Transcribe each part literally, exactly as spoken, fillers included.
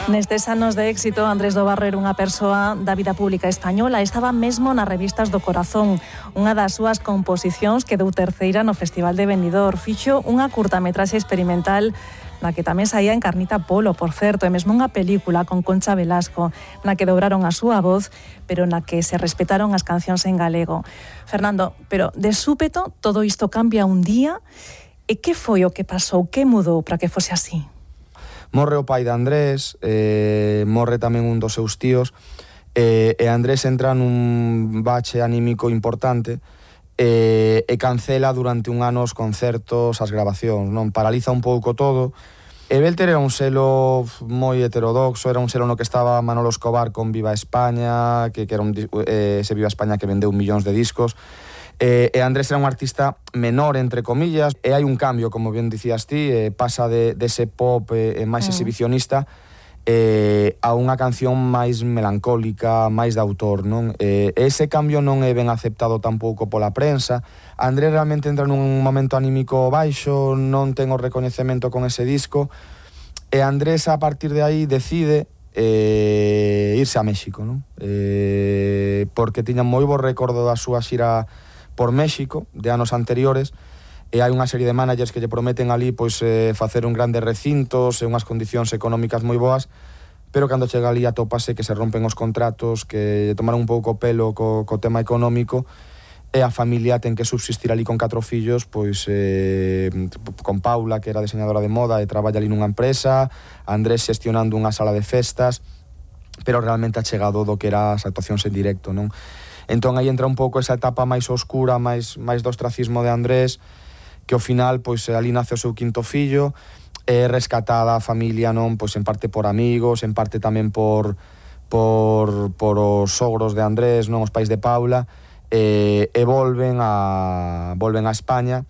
Nestes anos de éxito, Andrés do Barro era unha persoa da vida pública española. Estaba mesmo nas revistas do corazón. Unha das súas composicións quedou terceira no Festival de Benidorm. Fixo unha curtametraxe experimental na que tamén saía en Carnita Polo, por certo, e mesmo unha película con Concha Velasco, na que dobraron a súa voz, pero na que se respetaron as cancións en galego. Fernando, pero de súpeto todo isto cambia un día. E que foi o que pasou? Que mudou para que fose así? Morre o pai de Andrés, eh, morre tamén un dos seus tíos, eh, e Andrés entra nun bache anímico importante eh, e cancela durante un ano os concertos, as grabacións, non? Paraliza un pouco todo. E Belter era un selo moi heterodoxo, era un selo no que estaba Manolo Escobar con Viva España, que, que era un, eh, ese Viva España que vendeu millóns de discos. Eh, e Andrés era un artista menor, entre comillas, e hai un cambio, como ben dicías ti, eh, pasa de, de ese pop eh, máis mm. exhibicionista eh, a unha canción máis melancólica, máis de autor, non? Eh, ese cambio non é ben aceptado tampouco pola prensa. Andrés realmente entra nun momento anímico baixo, non ten o recoñecemento con ese disco, e Andrés a partir de aí decide eh, irse a México, non? Eh, porque tiña moi bo recordo da súa xira por México, de anos anteriores, e hai unha serie de managers que lle prometen ali pois eh, facer un grandes recintos e unhas condicións económicas moi boas, pero cando chega ali atópase que se rompen os contratos, que tomaron un pouco pelo co, co tema económico, e a familia ten que subsistir ali con catro fillos, pois eh, con Paula, que era diseñadora de moda e traballa ali nunha empresa, Andrés xestionando unha sala de festas, pero realmente achegado do que era as actuacións en directo, non? Entón aí entra un pouco esa etapa máis oscura, máis, máis do ostracismo de Andrés, que ao final, pois, ali nace o seu quinto fillo, é rescatada a familia, non? Pois en parte por amigos, en parte tamén por, por, por os sogros de Andrés, non? Os pais de Paula, e, e volven a volven a España.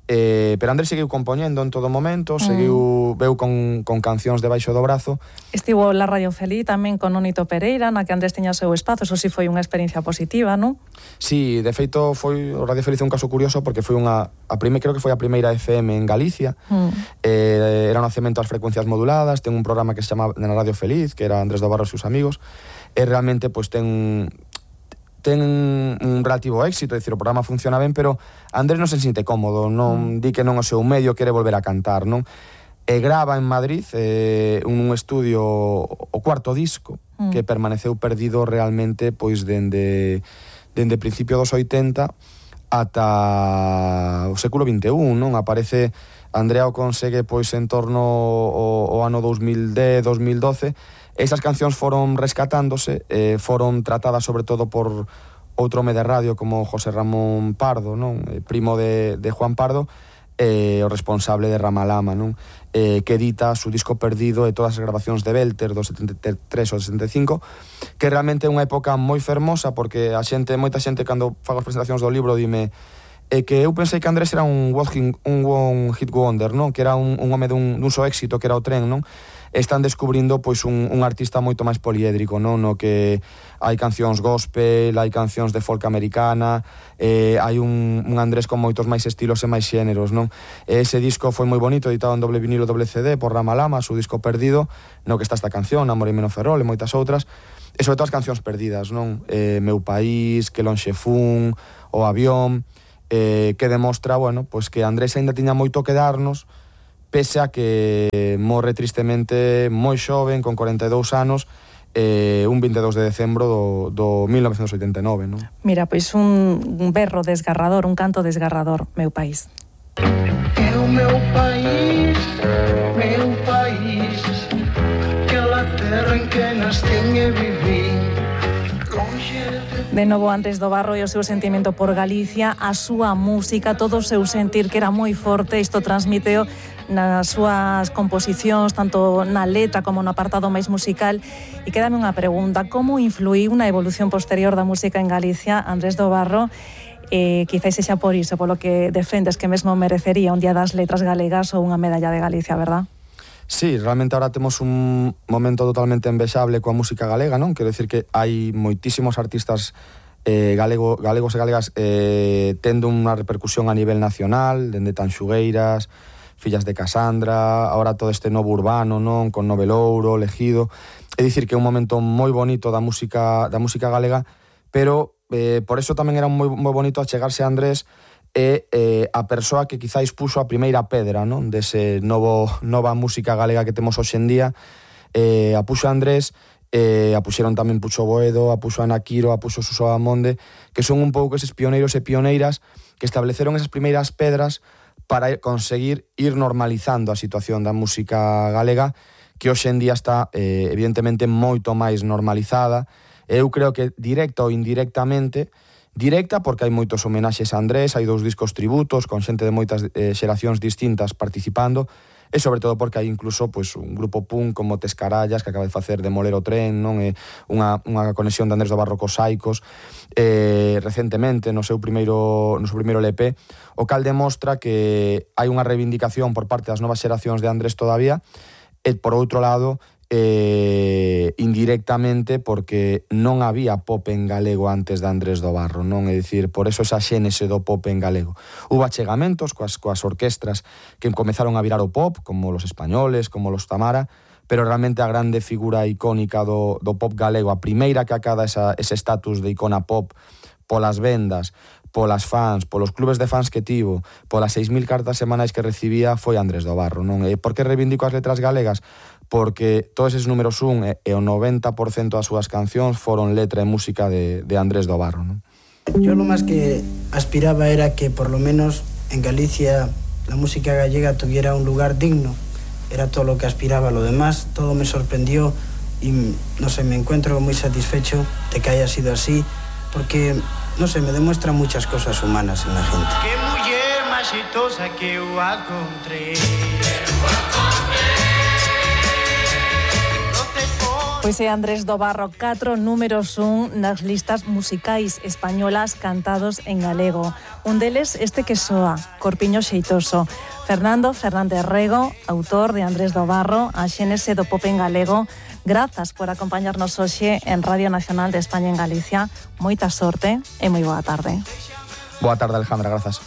Eh, pero Andrés seguiu compoñendo en todo momento, mm. seguiu, veu con, con cancións debaixo do brazo. Estivo la Radio Feliz tamén con Nonito Pereira, na que Andrés teña o seu espazo, eso si foi unha experiencia positiva, non? Sí, de feito foi o Radio Feliz un caso curioso porque foi unha, a prime, creo que foi a primeira F M en Galicia, mm. eh, era un nacemento ás frecuencias moduladas, ten un programa que se chama na Radio Feliz, que era Andrés do Barro e seus amigos, e realmente pois ten... ten un relativo éxito, é dicir, o programa funciona ben, pero Andrés non se sinte cómodo, non mm. di que non o seu medio, quere volver a cantar, non? E grava en Madrid eh, un estudio, o cuarto disco, mm. que permaneceu perdido realmente pois dende, dende principio dos oitenta ata o século vinte e un, non? Aparece, Andrea o consegue pois en torno ao, ao ano dos mil dez, dos mil doce. Esas cancións foron rescatándose, eh, foron tratadas sobre todo por outro home de radio como José Ramón Pardo, non? Eh, primo de, de Juan Pardo, eh, o responsable de Ramalama, non? Eh, que edita su disco perdido e todas as grabacións de Belter do setenta e tres ou setenta e cinco, que realmente é unha época moi fermosa, porque a xente, moita xente cando fago as presentacións do libro dime é que eu pensei que Andrés era un one, un one hit wonder, non? Que era un, un home dun, dun só éxito, que era o Tren, non? Están descubrindo pois un, un artista moito máis poliédrico, non? No que hai cancións gospel, hai cancións de folk americana, eh, hai un, un Andrés con moitos máis estilos e máis xéneros, non? Ese disco foi moi bonito, editado en doble vinilo, doble C D por Ramalama, su disco perdido, no que está esta canción, Amor e Menos Ferrol e moitas outras, e sobre todo as cancións perdidas, non? Eh, Meu País, Que lonxe fun, O Avión, eh, que demostra, bueno, pois que Andrés aínda tiña moito que darnos, pese a que morre tristemente moi xoven, con corenta e dous anos, eh, un vinte e dous de decembro do, do mil novecentos oitenta e nove, non? Mira, pois un, un berro desgarrador, un canto desgarrador, Meu País. É o meu país, meu país, aquela terra en que nascen e viví. De novo, Andrés do Barro e o seu sentimento por Galicia, a súa música, todo o seu sentir, que era moi forte, isto transmiteo nas súas composicións, tanto na letra como no apartado máis musical. E quédame unha pregunta, como influíu na evolución posterior da música en Galicia Andrés do Barro? Eh, quizás sexa por iso, polo que defendes que mesmo merecería un Día das Letras Galegas ou unha medalla de Galicia, verdad? Sí, realmente ahora temos un momento totalmente envexable coa música galega, non? Quero dicir que hai moitísimos artistas eh, galego, galegos e galegas eh, tendo unha repercusión a nivel nacional, dende Tanxugueiras, Fillas de Casandra, ahora todo este novo urbano, non, con Novelouro, Legido. É dicir que é un momento moi bonito da música da música galega, pero eh, por eso tamén era moi, moi bonito achegarse a Andrés e eh, a persoa que quizáis puxo a primeira pedra, non, dese novo nova música galega que temos hoxe en día. Eh, a puxo a Andrés, eh, a puxeron tamén Pucho Boedo, a puxo Ana Quiro, a puxo Suso Amonde, que son un pouco eses pioneiros e pioneiras que estableceron esas primeiras pedras para conseguir ir normalizando a situación da música galega, que hoxe en día está eh, evidentemente moito máis normalizada. Eu creo que directa ou indirectamente, directa porque hai moitos homenaxes a Andrés, hai dous discos tributos con xente de moitas eh, xeracións distintas participando, e sobre todo porque hai incluso pues, un grupo punk como Tescarallas que acaba de facer Demoler o Tren, non, é unha, unha conexión de Andrés do Barro cos Saicos eh, recentemente no seu primeiro no seu primeiro L P, o cal demostra que hai unha reivindicación por parte das novas xeracións de Andrés todavía, e por outro lado eh, indirectamente porque non había pop en galego antes de Andrés do Barro, non? É dicir, por eso esa xénese do pop en galego. Hubo achegamentos coas, coas orquestras que comezaron a virar o pop, como los Españoles, como los Tamara, pero realmente a grande figura icónica do, do pop galego, a primeira que acada esa, ese estatus de icona pop polas vendas, polas fans, polos clubes de fans que tivo, polas seis mil cartas semanais que recibía, foi Andrés do Barro, non? E por que reivindico as letras galegas? Porque todos eses números un e, e o noventa por cento das súas cancións foron letra e música de, de Andrés do Barro, non? Yo lo más que aspiraba era que por lo menos en Galicia la música gallega tuviera un lugar digno. Era todo lo que aspiraba. Lo demás, todo me sorprendió y, no sé, me encuentro muy satisfecho de que haya sido así, porque, no sé, me demuestra muchas cosas humanas en la gente. Que muller máis xeitosa que eu encontrei. Pois é Andrés do Barro, catro números un nas listas musicais españolas cantados en galego. Un deles este que soa, Corpiño Xeitoso. Fernando Fernández Rego, autor de Andrés do Barro, a xénese do pop en galego. Grazas por acompañarnos hoxe en Radio Nacional de España en Galicia. Moita sorte e moi boa tarde. Boa tarde, Alejandra, grazas.